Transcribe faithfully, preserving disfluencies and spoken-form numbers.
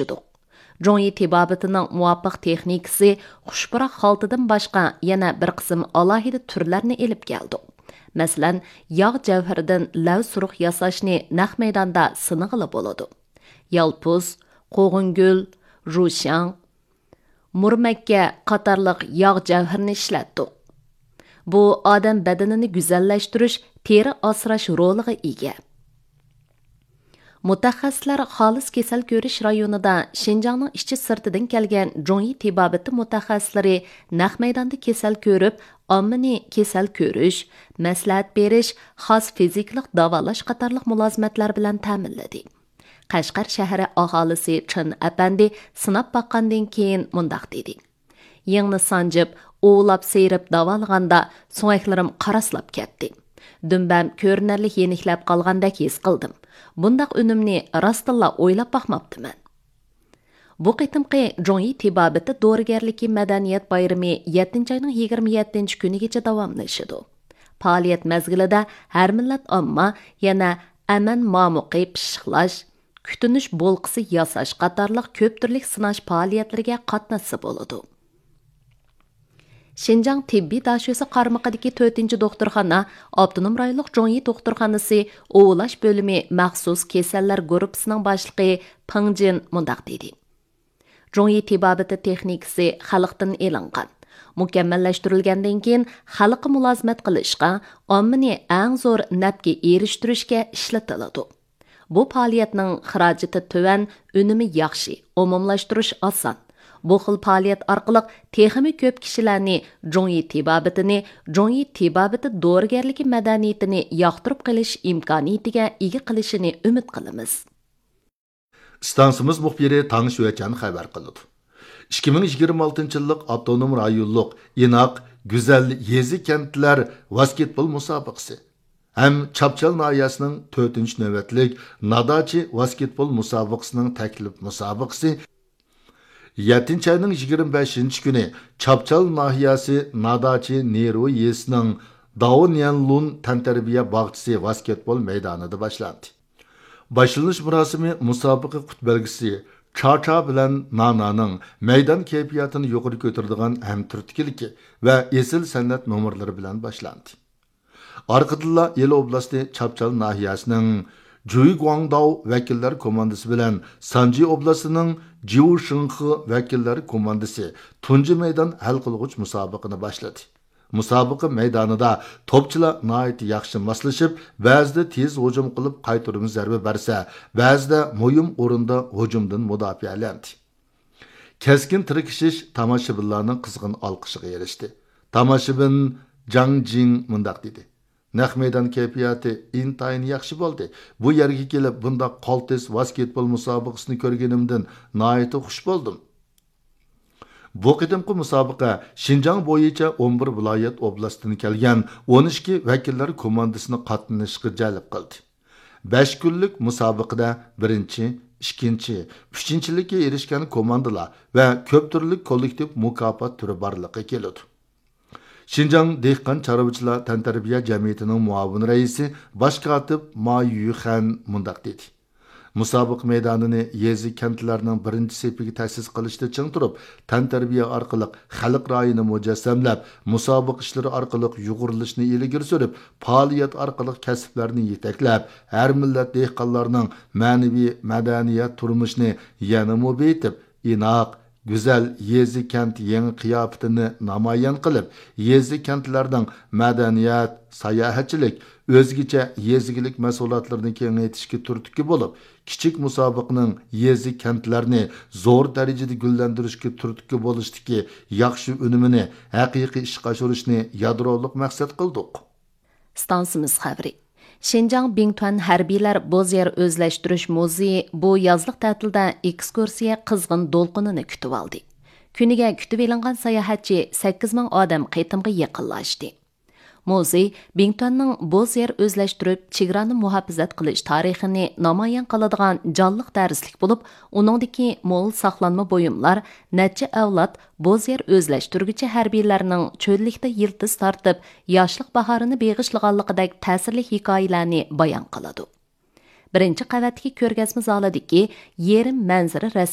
ئىشلىدۇق. جۇڭيى تېبابىتىنىڭ مۇۋاپىق تېخنىكىسى خۇش پۇراق خالتىدىن باشقا يەنە بىر قىسىم ئالاھىدە تۈرلەرنى ئېلىپ كەلدۇق. مەسىلەن، ياغ جەۋھىرىدىن لەۋ سۇرۇق ياساشنى نەق مەيداندا سىنىغىلى بولىدۇ. يالپۇز، قوغۇنگۈل، ژۇشياڭ، مۇرمەككە قاتارلىق ياغ جەۋھىرىنى ئىشلەتتۇق. بۇ ئادەم بەدىنىنى گۈزەللەشتۈرۈش، تېرە ئاسراش رولىغا ئىگە. مۇتەخەسسىسلەر خالىس كېسەل كۆرۈش رايونىدا شىنجاڭنىڭ ئىچى سىرتىدىن كەلگەن جۇڭيى تېبابىتى مۇتەخەسسىسلىرى نەق مەيداندا كېسەل كۆرۈپ، ئاممىنى كېسەل كۆرۈش، مەسلىھەت بېرىش، خاس فىزىكىلىق داۋالاش قاتارلىق مۇلازىمەتلەر بىلەن تەمىنلىدى. قەشقەر شەھىرى ئاھالىسى چېن ئەپەندى سىناپ باققاندىن كېيىن مۇنداق دېدى: يىڭنە سانجىپ، ئۇۋىلاپ سىيرىپ داۋالىغاندا سۆڭەكلىرىم قاراسلاپ كەتتى. دۈمبەم كۆرۈنەرلىك يېنىكلەپ قالغاندەك ھېس قىلدىم. بۇنداق ئۈنۈمنى راستتىنلا ئويلاپ باقماپتىمەن. بۇ قېتىمقى جۇڭيى تېبابىتى دورىگەرلىكى مەدەنىيەت بايرىمى يەتتىنچى ئاينىڭ يىگىرمە يەتتىنچى كۈنىگىچە داۋاملىشىدۇ. پائالىيەت مەزگىلىدە ھەر مىللەت ئامما يەنە ئەمەن مامۇقى پىششىقلاش، كۈتۈنۈش بولكىسى ياساش قاتارلىق كۆپ تۈرلۈك سىناش پائالىيەتلىرىگە قاتناشسا بولىدۇ. شىنجاڭ تېببىي داشۆسى قارمىقىدىكى تۆتىنچى دوختۇرخانا، ئاپتونوم رايونلۇق جۇڭيى دوختۇرخانىسى ئۇۋىلاش بۆلۈمى مەخسۇس كېسەللەر گۇرۇپپىسىنىڭ باشلىقى پېڭ جىن مۇنداق دېدى: جۇڭيى تېبابىتى تېخنىكىسى خەلقتىن ئېلىنغان، مۇكەممەللەشتۈرۈلگەندىن كېيىن خەلققە مۇلازىمەت قىلىشقا، ئاممىنى ئەڭ زور نەپكە ئېرىشتۈرۈشكە ئىشلىتىلىدۇ. بۇ پائالىيەتنىڭ خىراجىتى تۆۋەن، ئۈنۈمى ياخشى، ئومۇملاشتۇرۇش ئاسان. بۇ خىل پائالىيەت ئارقىلىق تېخىمۇ كۆپ كىشىلەرنى جۇڭيى تېبابىتىنى، جۇڭيى تېبابىتى دورىگەرلىكى مەدەنىيىتىنى ياقتۇرۇپ قېلىش ئىمكانىيىتىگە ئىگە قىلىشىنى ئۈمىد قىلىمىز. ئىستانسىمىز مۇخبىرى تاڭ شۈەچەن خەۋەر قىلىدۇ. ئىككى مىڭ يىگىرمە ئالتىنچى يىللىق ئاپتونوم رايونلۇق ئىناق، گۈزەل يېزا كەنتلەر ۋاسكېتبول مۇسابىقىسى ھەم چاپچال ناھىيەسىنىڭ تۆتىنچى نۆۋەتلىك ناداچى ۋاسكېتبول مۇسابىقىسىنىڭ تەكلىپ مۇسابىقىسى يەتتىنچى ئاينىڭ يىگىرمە بەشىنچى كۈنى چاپچال ناھىيەسى ناداچى نېرۇ يېزىسىنىڭ داۋنيەنلۇن تەنتەربىيە باغچىسى ۋاسكېتبول مەيدانىدا باشلاندى. باشلىنىش مۇراسىمى مۇسابىقە قۇت بەلگىسى چاچا بىلەن نانانىڭ مەيدان كەيپىياتىنى يۇقىرى كۆتۈرىدىغان ھەمتۈرتكىلىكى ۋە ئېسىل سەنئەت نومۇرلىرى بىلەن باشلاندى. ئارقىدىنلا ئىلى ئوبلاستى چاپچال ناھىيەسىنىڭ جۈيگۇاڭداۋ ۋەكىللەر كوماندىسى بىلەن سانجى ئوبلاستىنىڭ جيۇشىڭخې ۋەكىللەر كوماندىسى تۇنجى مەيدان ھەل قىلغۇچ مۇسابىقىنى باشلىدى. مۇسابىقە مەيدانىدا توپچىلار ناھايىتى ياخشى ماسلىشىپ، بەزىدە تېز ھۇجۇم قىلىپ قايتۇرما زەربە بەرسە، بەزىدە مۇھىم ئورۇندا ھۇجۇمدىن مۇداپىئەلەندى. كەسكىن تىركىشىش تاماشىبىنلارنىڭ قىزغىن ئالقىشىغا ئېرىشتى. تاماشىبىن جاڭ جىڭ مۇنداق دېدى: نەق مەيدان كەيپىياتى ئىنتايىن ياخشى بولدى. بۇ يەرگە كېلىپ، بۇنداق قالتىس ۋاسكېتبول مۇسابىقىسىنى كۆرگىنىمدىن ناھايىتى خۇش بولدۇم. بۇ قېتىمقى مۇسابىقە شىنجاڭ بويىچە ئون بىر ۋىلايەت ئوبلاستتىن كەلگەن ئون ئىككى ۋەكىللەر كوماندىسىنى قاتنىشىشقا جەلپ قىلدى. بەش كۈنلۈك مۇسابىقىدە بىرىنچى، ئىككىنچى، ئۈچىنچىلىككە ئېرىشكەن كوماندىلار ۋە كۆپ تۈرلۈك كوللېكتىپ مۇكاپات تۈرى بارلىققا كېلىدۇ. شىنجاڭ دېھقان چارۋىچىلار تەنتەربىيە جەمئىيىتىنىڭ مۇئاۋىن رەئىسى، باش كاتىپ ما يۈخەن مۇنداق دېدى: مۇسابىقە مەيدانىنى يېزا، كەنتلەرنىڭ بىرىنچى سېپىگە تەسىس قىلىشتا چىڭ تۇرۇپ، تەنتەربىيە ئارقىلىق خەلق رايىنى مۇجەسسەملەپ، مۇسابىقە ئىشلىرى ئارقىلىق يۇغۇرۇلۇشنى ئىلگىرى سۈرۈپ، پائالىيەت ئارقىلىق كەسىپلەرنى يېتەكلەپ، ھەر مىللەت دېھقانلارنىڭ مەنىۋى، مەدەنىيەت تۇرمۇشىنى يەنىمۇ بېيىتىپ، ئىناق، گۈزەل يېزا، كەنت يېڭى قىياپىتىنى نامايان قىلىپ، يېزا، كەنتلەرنىڭ مەدەنىيەت، ساياھەتچىلىك، ئۆزگىچە يېزا ئىگىلىك مەھسۇلاتلىرىنى كېڭەيتىشكە تۈرتكە بولۇپ، كىچىك مۇسابىقىنىڭ يېزا، كەنتلەرنى زور دەرىجىدە گۈللەندۈرۈشكە تۈرتكە بولۇشتىكى ياخشى ئۈنۈمىنى ھەقىقىي ئىشقا ئاشۇرۇشنى يادرولۇق مەقسەت قىلدۇق. ئىستانسىمىز خەۋىرى. شىنجاڭ بىڭتۈەن ھەربىيلەر بوز يەر ئۆزلەشتۈرۈش مۇزېيى بۇ يازلىق تەتىلدە ئېكسكۇرسىيە قىزغىن دولقۇنىنى كۈتۈۋالدى. كۈنىگە كۈتۈۋېلىنغان ساياھەتچى سەككىز مىڭ ئادەم قېتىمغا يېقىنلاشتى. مۇزېي بىڭتۈەننىڭ بوز يەر ئۆزلەشتۈرۈپ، چېگرانى مۇھاپىزەت قىلىش تارىخىنى نامايان قىلىدىغان جانلىق دەرسلىك بولۇپ، ئۇنىڭدىكى مول ساقلانما بۇيۇملار نەچچە ئەۋلاد بوز يەر ئۆزلەشتۈرگۈچى ھەربىيلەرنىڭ چۆللۈكتە يىلتىز تارتىپ، ياشلىق باھارىنى بېغىشلىغانلىقىدەك تەسىرلىك ھېكايىلەرنى بايان قىلىدۇ. بىرىنچى قەۋەتتىكى كۆرگەزمە زالىدىكى يېرىم مەنزىرە رەسىم